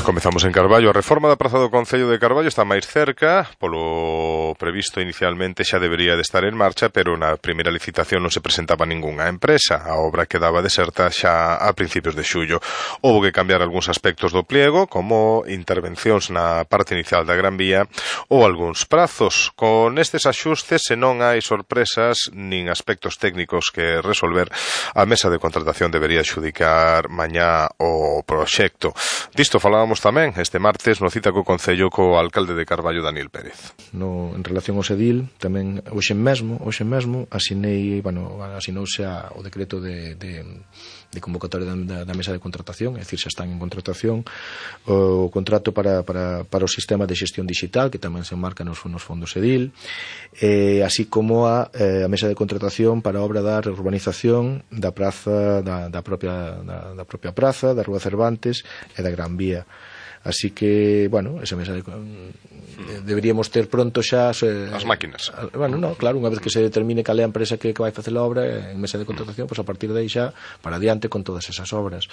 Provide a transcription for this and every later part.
Comezamos en Carballo. A reforma da praza do Concello de Carballo está máis cerca, polo previsto inicialmente xa debería de estar en marcha, pero na primeira licitación non se presentaba ningunha empresa. A obra quedaba deserta xa a principios de xullo. Houbo que cambiar algúns aspectos do pliego, como intervencións na parte inicial da Gran Vía ou algúns prazos. Con estes axustes, se non hai sorpresas nin aspectos técnicos que resolver, a mesa de contratación debería xudicar mañá o proxecto. Disto falábamos tamén este martes no cita co Concello co alcalde de Carballo, Daniel Pérez. En relación ao Sedil, tamén hoxe mesmo asinouse o decreto de convocatoria da mesa de contratación, é dicir, xa están en contratación o contrato para o sistema de xestión digital, que tamén se enmarca nos fondos Sedil, así como a mesa de contratación para a obra da reurbanización da praza, da propia praza, da Rúa Cervantes e da Gran Vía. Así que, esa mesa deberíamos ter pronto xa as máquinas. Claro, unha vez que se determine cal é a empresa que vai facer a obra en mesa de contratación, a partir de aí xa para adiante con todas esas obras.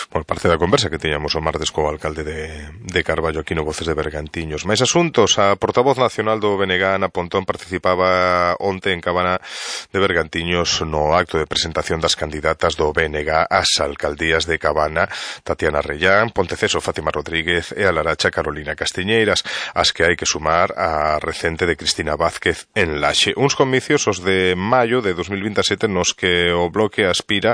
Por parte da conversa que tiñamos o martes co alcalde de Carballo aquí no Voces de Bergantiños. Mais asuntos, a portavoz nacional do BNG, Ana Pontón, participaba onte en Cabana de Bergantiños no acto de presentación das candidatas do BNG ás alcaldías de Cabana, Tatiana Rellán, Ponteceso, Fátima Rodríguez e a Laracha, Carolina Castiñeiras, as que hai que sumar a recente de Cristina Vázquez en Laxe. Uns comicios os de maio de 2027 nos que o bloque aspira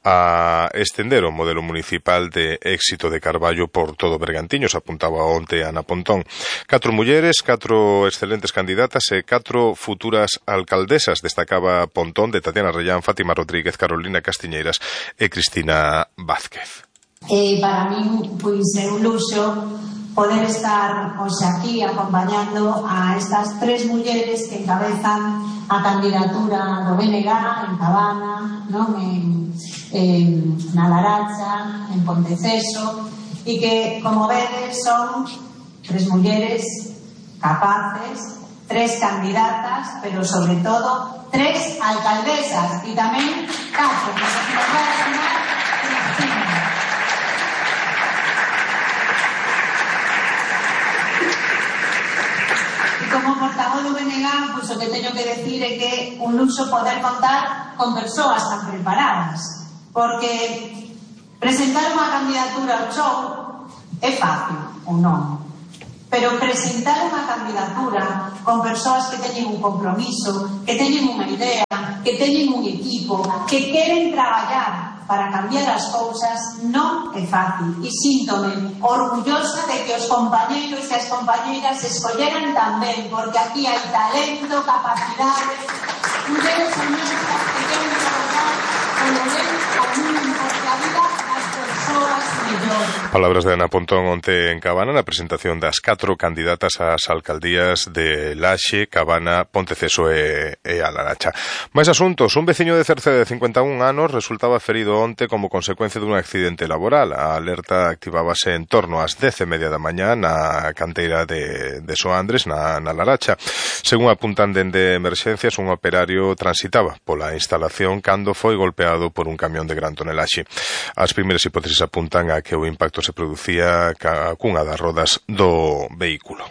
a estender o modelo municipal de éxito de Carballo por todo Bergantiños, apuntaba onte Ana Pontón. 4 mulleres, 4 excelentes candidatas e 4 futuras alcaldesas, destacaba Pontón, de Tatiana Rellán, Fátima Rodríguez, Carolina Castiñeiras e Cristina Vázquez. Para min, é un luxo poder estar hoxe aquí acompañando a estas 3 mulleres que encabezan a candidatura do BNG en Cabana, na Laracha, en Ponteceso, e que, como vedes, son 3 mulleres capaces, 3 candidatas, pero sobre todo 3 alcaldesas, e tamén 4, que nos vai a sumar Cristina. Como portavoz do BNG, o que teño que decir é que un luxo poder contar con persoas tan preparadas, porque presentar unha candidatura ao show é fácil ou non, pero presentar unha candidatura con persoas que teñen un compromiso, que teñen unha idea, que teñen un equipo, que queren traballar para cambiar as cousas, non é fácil. E síntome orgullosa de que os compañeiros e as compañeiras escolleran tamén, porque aquí hai talento, capacidade, mulleres feministas que queren trabalhar polo ben común, porque a vida das persoas mellor. Palabras de Ana Pontón onte en Cabana na presentación das 4 candidatas ás alcaldías de Laxe, Cabana, Ponteceso e a Laracha. Mais asuntos. Un veciño de Cerceda de 51 anos resultaba ferido onte como consecuencia dun accidente laboral. A alerta activábase en torno ás 10:30 da mañá na canteira de Soandres, na Laracha. Según apuntan dende emerxencias, un operario transitaba pola instalación cando foi golpeado por un camión de gran tonelaxe. As primeiras hipótesis apuntan a que o impacto se producía cunha das rodas do vehículo.